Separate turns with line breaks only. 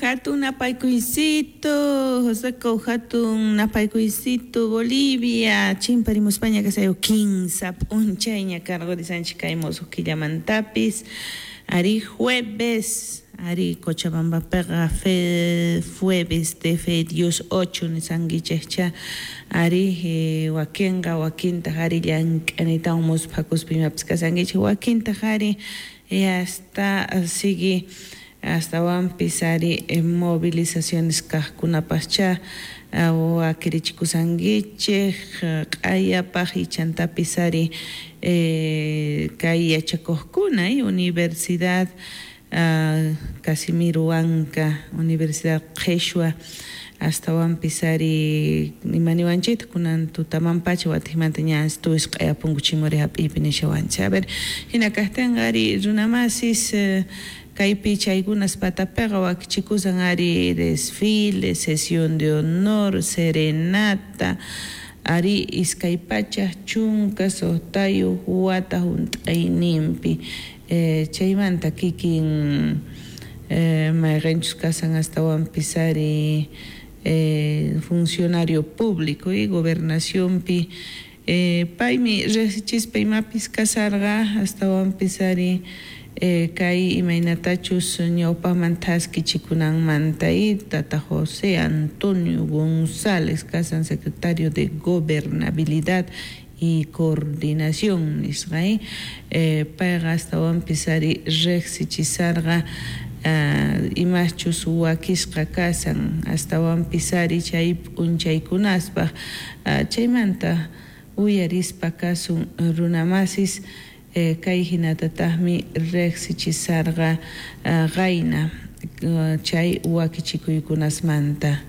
Hatun napaykuysito, Joseco, hatun napaykuysito, Bolivia, chimparimuspaña kasayo kinsa p'unchayña karqurisanchik kay musuq killamantapis, ari jueves, ari Cochabambapiqa fe, jueves de fe Dios 8 nisankichikcha, ari wakinqa wakintaq ari llank'anitawan musphakuspa imapis kasankichik, wakintaq ari hasta sigui astawanpis ari movilizaciones kaqkunapascha wakirichikusankichik q'ayapaq ichantapis ari kay yachakuqkuna Universidad Casimiro Huanca, Universidad Qheshwa astawanpis ari imaniwanchikta kunan tutamanpacha watikmanta ña tuis q'ayapunku chimuri hap'iypi nishawanchik. A ver, hina kaqtinqa ari runamasis kaypi chaykunas patapiqa wakichikusan ari desfile, sesión de honor, serenata, ari 216 wata hunt'ayninpi chaymanta kikin mayqinchus kasan astawanpis ari funcionario público y gobernacionpi paymi riqsichispa imapis kasarqa astawanpis ari kay imaynatachus ñawpaqman thaskichikunanmanta y tata José Antonio González kasan secretario de Gobernabilidad y Coordinación nisqa payqa astawanpis ari riqsichisarqa imaschus wakisqa kasan astawanpis ari chay p'unchaykunaspaq chaymanta uyarispa kasun runamasis kay hinatataqmi riqsichisarqa qayna chay wakichikuykunasmanta.